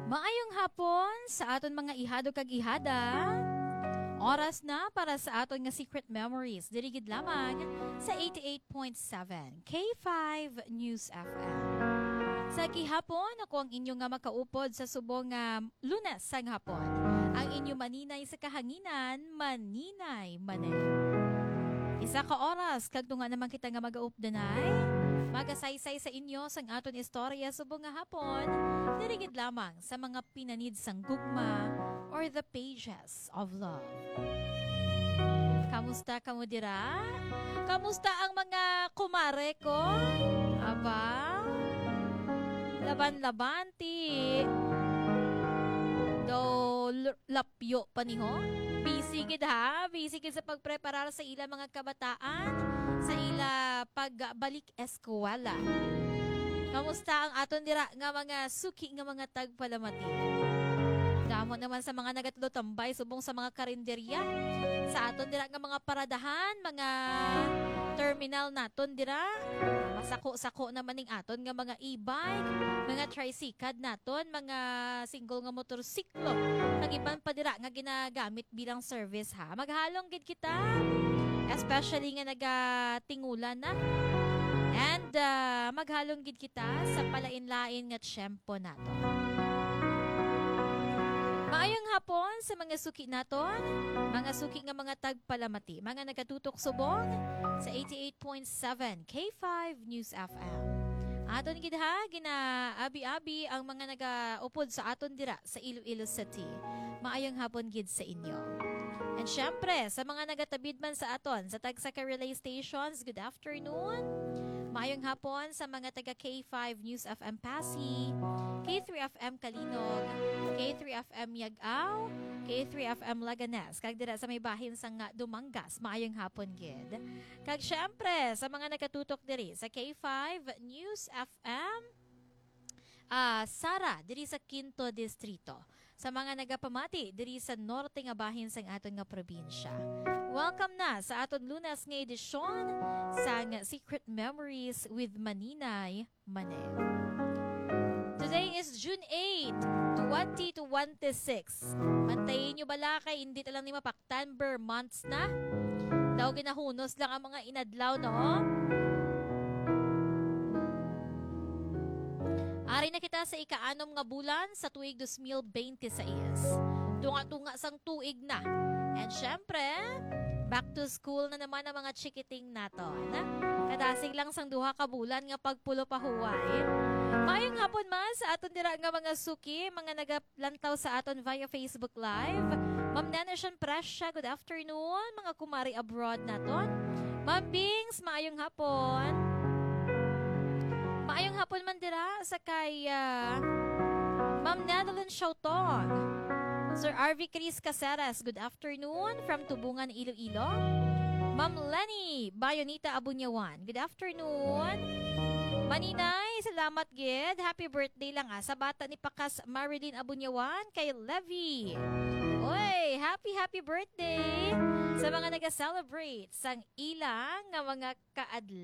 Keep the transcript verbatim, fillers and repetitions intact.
Maayong hapon sa aton mga ihado kag ihada. Oras na para sa aton nga Secret Memories, diri gid lamang sa eighty-eight point seven K five News F M. Sa gihapon, ako ang inyo nga makaupod sa subong nga Lunes sang hapon. Ang inyo maninay sa kahanginan, Maninay Manel. Isa ka oras, kag tunga naman kita nga magaupdanay, magasaysay sa inyo sang aton istorya subong nga hapon, diri gid lamang sa mga pinanid sang gugma or the pages of love. Kamusta kamo dira? Kamusta ang mga kumare ko? Aba, laban-laban ti do l- lapyo pa ni ho. Busy gid ha, busy gid sa pagpreparar sa ila mga kabataan, sa ila pagbalik eskwela. Kamusta ang aton dira nga mga suki nga mga tagpalamati? Damo naman sa mga nagatulotambay subong sa mga karinderya, sa aton dira nga mga paradahan, mga terminal naton dira. Masako-sako naman ning aton nga mga e-bike, mga tricycad naton, mga single nga motorsiklo, kag iban pa dira nga ginagamit bilang service, ha. Maghalong gid kita, especially nga nagatingulan na. And, ah, maghalong gid kita sa palain-lain nga tiyempo nato. Maayong hapon sa mga suki naton, mga suki nga mga tagpalamati, mga nagatutok subong sa eighty-eight point seven K five News F M. Aton gid ha, ginaabi-abi ang mga nagaupod sa aton dira sa Iloilo City. Maayong hapon gid sa inyo. And syempre, sa mga nagatabid man sa aton sa tagsa ka relay stations, good afternoon. Maayong hapon sa mga taga K five News F M Passi, K three F M Calinog, K three F M Yag-aw, K three F M Laganes, kag dira sa may bahin sang Dumangas. Maayong hapon gid. Kag syempre, sa mga nagatutok diri sa K five News F M, ah, Sara, diri sa Quinto Distrito. Sa mga nagapamati diri sa norte nga bahin sang aton nga probinsya. Welcome na sa aton Lunes nga edisyon sang Secret Memories with Maninay Manel. Today is June eight, twenty twenty-six. Mantayin nyo bala kay hindi ta lang ni mapaktan, ber months na. Daw ginahunos lang ang mga inadlaw, no? Ari na kita sa ikaanom nga bulan sa tuig dos mil bente sais. Tunga-tunga sang tuig na. And syempre, back to school na naman ang mga chikiting naton. Kadasig lang sang duha ka bulan nga pagpulo pa huway. Maayong hapon man sa aton dira nga mga suki, mga nagalantaw sa aton via Facebook Live. Ma'am Nana Shan Presya, good afternoon. Mga kumari abroad naton. Ma'am Bings, maayong hapon. Maayong hapon man dira sa kay, ah, Ma'am Nanalyn Siautong. Sir R V Chris Caceres, good afternoon from Tubungan, Iloilo. Ma'am Lenny Bayonita Abunyawan, good afternoon. Maninay, salamat gid. Happy birthday lang, ah, sa bata ni Pakas Marilyn Abunyawan kay Levi. Oy, happy, happy birthday sa mga nag-celebrate sang ilang nga mga kaadlaw.